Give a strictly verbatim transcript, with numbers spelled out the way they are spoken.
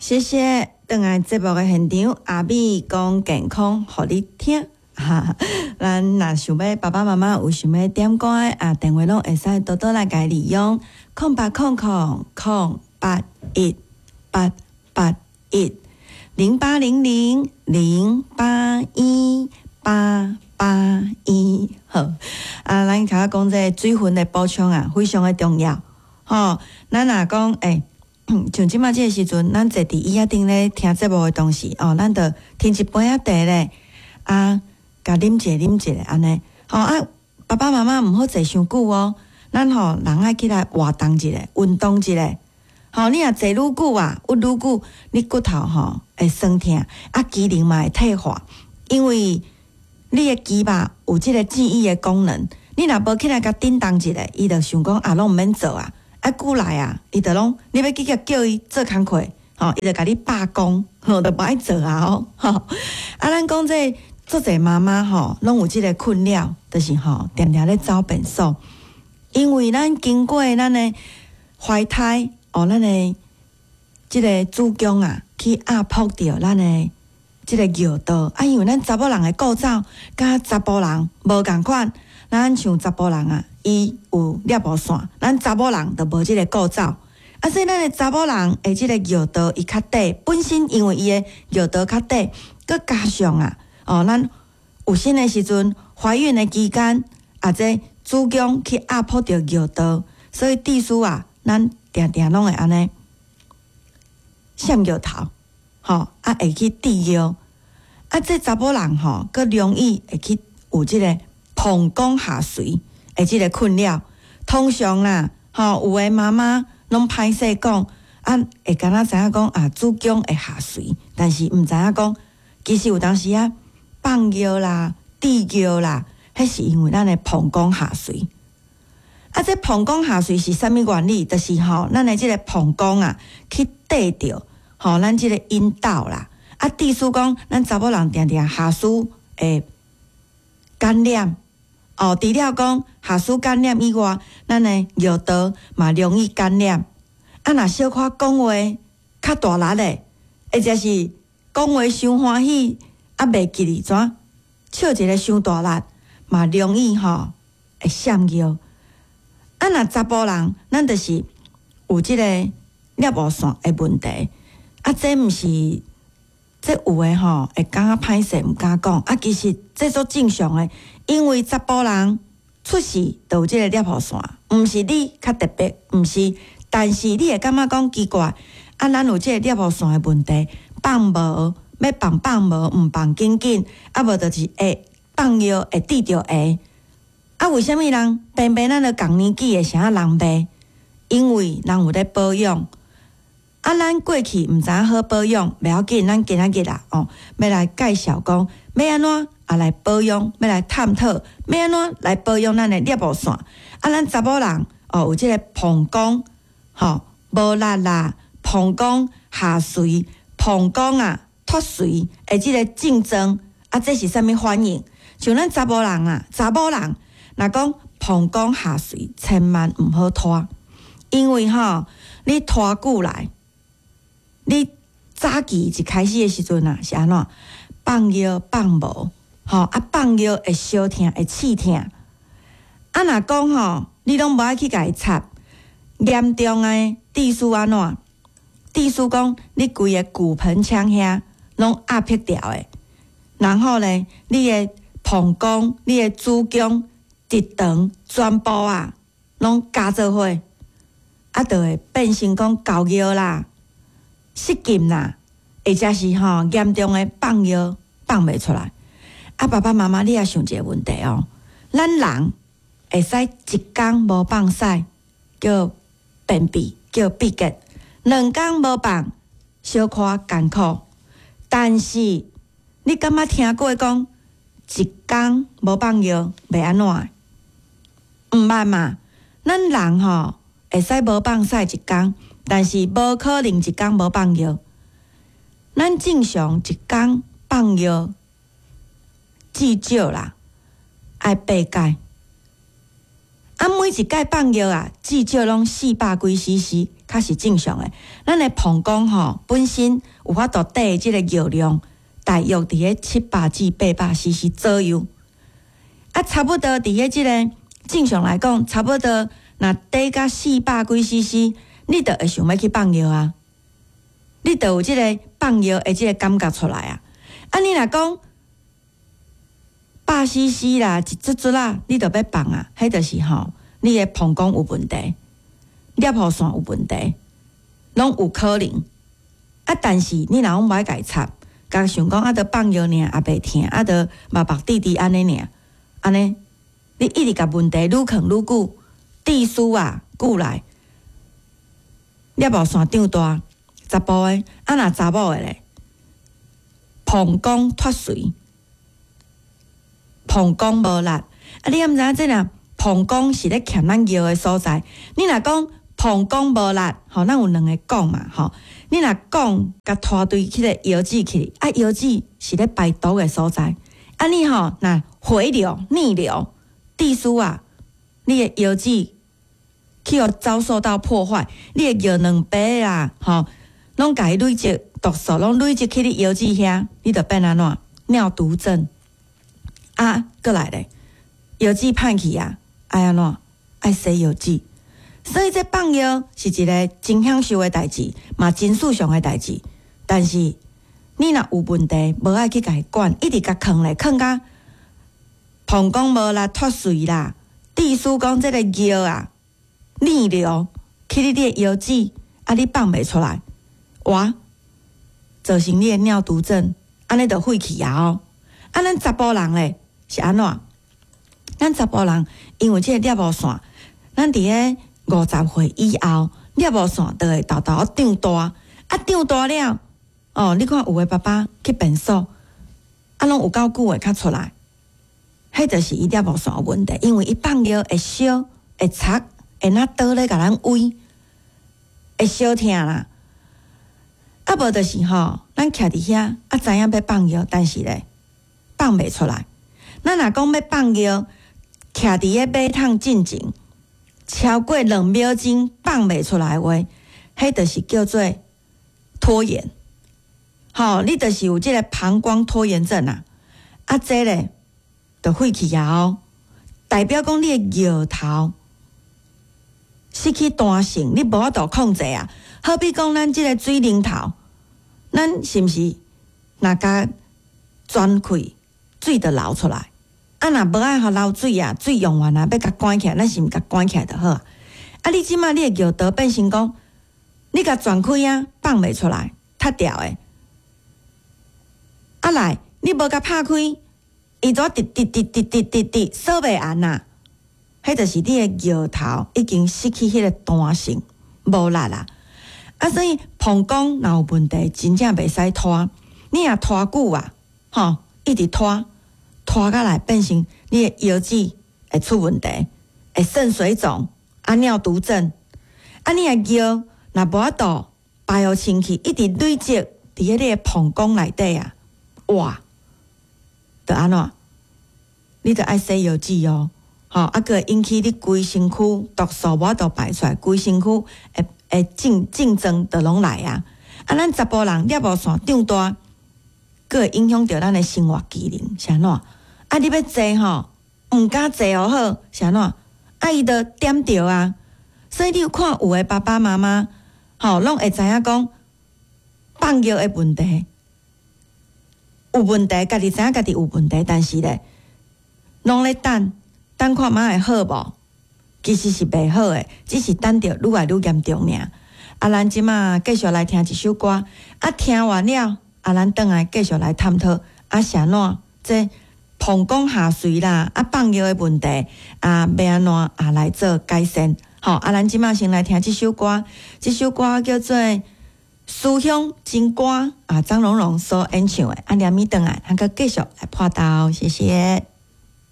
謝謝，轉來節目的現場，阿美講健康，予你聽。哈，咱若想欲爸爸媽媽有想欲點歌的啊，電話攏會使多多來共利用，空八空空空八一八八一零八零零零八一八八一。好，啊，咱頭拄講這個水分的補充啊，非常的重要。吼，咱若講欸，像這馬這個時陣，咱坐佇椅仔頂咧聽節目的同時，哦，咱就添一杯仔茶咧，啊，共啉一下啉一下按呢，吼啊，爸爸媽媽毋好坐傷久哦，咱吼人愛起來活動一下，運動一下。吼，你若坐愈久啊，鬱愈久，你骨頭吼會酸疼，啊，機能嘛會退化，因為你的肌肉有這個記憶的功能，你若無起來共振動一下，伊就想講啊，攏毋免做啊。啊，久來啊，伊就攏你欲去共叫伊做工課，吼，伊就共你罷工，吼，就無愛做啊，吼。啊，咱講這足濟媽媽吼，攏有這個困擾，就是吼，定定咧走便所，因為咱經過咱的懷胎，哦，咱的這個子宮啊，去壓迫著咱的這個尿道，啊，因為咱查某人的構造佮查埔人無仝款，咱像查埔人啊，伊有攝護腺，咱查某人就無這個構造，啊，所以咱的查某人的這個尿道伊較短，本身因為伊的尿道較短，閣加上啊，哦，咱有身的時陣，懷孕的期間，啊，這子宮去壓迫著尿道，所以致使啊，咱定定攏會按呢潸尿頭，吼，啊會去滴尿，啊，這查某人吼，閣容易會去有這個膀胱下垂的這個困擾。通常啦，吼，有的媽媽攏歹勢講，啊，會敢若知影講啊，子宮會下垂，但是毋知影講，其實有當時啊，放尿啦、滴尿啦，彼是因為咱的膀胱下垂。啊，這膀胱下垂是啥物原理？就是吼，咱的這個膀胱啊，去綴著吼，咱這個陰道啦。啊，致使講，咱查某人定定下肢會感染。哦，除了講下肢感染以外，咱的尿道嘛容易感染。啊，若小可講話較大力的，或者是講話傷歡喜，啊，袂記得怎笑一个傷大力，嘛容易吼會潸尿。啊，若查埔人，咱就是有這個攝護腺的問題。啊，這毋是，這有的吼會感覺歹勢，毋敢講。啊，其實這足正常的，因為查埔人出世就有這個攝護腺，毋是你較特別，毋是，但是你會感覺講奇怪，啊，咱有這個攝護腺的問題，放無欲放放無，毋放緊緊，啊，無就是會放尿會滴著下。啊，為啥物人偏偏咱著仝年紀的啥人袂？因為人有咧保養。啊，咱過去毋知影好保養，袂要緊，咱今仔日啊，哦，欲來介紹講，欲按怎啊來保養，欲來探討，欲按怎來保養咱的攝護腺。啊，咱查某人哦，有這個膀胱，吼，無力啦，膀胱下垂，膀胱啊脫垂的這個症狀，啊，這是啥物反應？像咱查某人啊，查某人若講膀胱下垂，千萬毋好拖，因為吼，你拖久來，你早期一開始的時陣啊，是按怎放尿放無，吼啊放尿會燒疼，會刺疼。啊，若講吼，你攏無愛去共伊插，嚴重的致使按怎？致使講你規个骨盆腔遐攏壓迫掉的，然後咧，你的膀胱、你的子宮、直腸全部啊，攏加做伙，啊，就會變成講厚尿啦、失禁啦，或者是吼嚴重的放尿放袂出來。啊，爸爸媽媽，你也想一個問題哦，咱人會使一工無放屎，叫便秘，叫秘結；兩工無放，小可艱苦。但是你敢捌聽過講一工無放尿袂按怎？毋捌嘛？咱人吼會使無放屎一工，但是無可能一工無放尿。咱正常一工放尿至少啦，愛八擺。啊，每每一擺放尿啊，至少攏四百幾 C C，較是正常的。咱的膀胱吼本身有法度貯這个尿量，大約佇咧七百至八百 C C 左右。啊，差不多佇咧這个正常來講，差不多若貯到四百幾 C C，你就會想欲去放尿啊。你就有這个放尿的這个感覺出來啊。啊，你若講百 C C 啦，一卒卒啦，你就欲放啊，彼就是吼，你的膀胱有問題，尿道腺有問題，攏有可能。啊，但是你若攏無愛共伊插，共想講啊，著放尿爾，也袂疼，啊，著目目滴滴按呢爾，按呢，你一直共問題愈囥愈久，致使啊久來，尿道腺長大，查埔的，啊若查某的咧，膀胱脫垂，膀胱無力，啊你敢知影這若膀胱是咧欠咱尿的所在？你若講膀胱無力，吼，咱有兩个講嘛，吼。你若講共拖對彼个腰子去，啊腰子是咧排毒的所在，啊你吼若回流逆流，致使啊，你的腰子去予遭受到破壞，你的尿卵白啦，吼，攏共伊累積毒素，攏累積去你腰子遐，你就變按怎？尿毒症。啊，閣來咧，腰子歹去啊，愛按怎？愛洗腰子。所以這放尿是一个真享受的代誌，嘛真舒暢的代誌。但是你若有問題，無愛去共伊管，一直共囥咧，囥甲膀胱無力脫垂啦，致使講這个尿啊逆流去你的腰子，啊你放袂出來，哇，造成你的尿毒症，按呢就廢去啊哦。啊，咱查埔人咧是按怎？咱查埔人因為這个尿道腺，咱佇咧五十歲以後，尿道腺就會沓沓長大，啊長大了，哦，你看有的爸爸去便所，啊攏有夠久的才出來，彼就是伊尿道腺有問題，因為伊放尿會燒、會擦、會若刀咧共咱崴，會燒疼啦。啊無就是吼，咱徛佇遐，啊知影欲放尿，但是咧放袂出來。咱若講欲放尿，徛佇个馬桶進前，超過兩秒鐘放袂出來的話，彼就是叫做拖延。吼，你就是有這个膀胱拖延症啊！啊，這咧就廢去啊哦，代表講你的尿頭失去彈性，你無法度控制啊。好比講咱這个水龍頭，咱是毋是若共轉開，水就流出來？啊，若無愛予流水啊，水用完啊，欲共關起來，咱是毋共關起來就好啊。啊，你這馬你的尿道變成講，你共轉開啊，放袂出來，塞牢的。啊來，你無共拍開，伊就直直直直直直直鎖袂按啊。彼就是你的尿頭已經失去彼个彈性，無力啦。啊，所以膀胱若有問題，真正袂使拖。你若拖久啊，吼，一直拖，拖甲來變成你的腰子會出問題，會腎水腫，啊尿毒症。啊，你的尿若無法度排予清氣，一直累積佇咧你的膀胱內底啊，哇，就按怎？你著愛洗腰子哦，吼，啊，閣會引起你規身軀毒素無法度排出來，規身軀會會症症狀就攏來啊。啊，咱查埔人尿道腺長大，閣會影響著咱的生活機能，是按怎？啊，你欲坐吼，毋敢坐予好，是按怎？啊，伊就點著啊。所以你有看有的爸爸媽媽，吼，攏會知影講放尿的問題有問題，家己知影家己有問題，但是咧，攏咧等，等看覓會好無？其實是袂好的，只是等著愈來愈嚴重爾。啊，咱這馬繼續來聽一首歌，啊，聽完了，啊，咱轉來繼續來探討，啊，是按怎？這膀胱下垂啦，啊，放尿的問題，啊，欲按怎啊來做改善？好，啊，咱這馬先來聽這首歌，這首歌叫做《思鄉真歌》啊，張榮榮所演唱的。啊，連咪轉來，咱閣繼續來破刀，謝謝。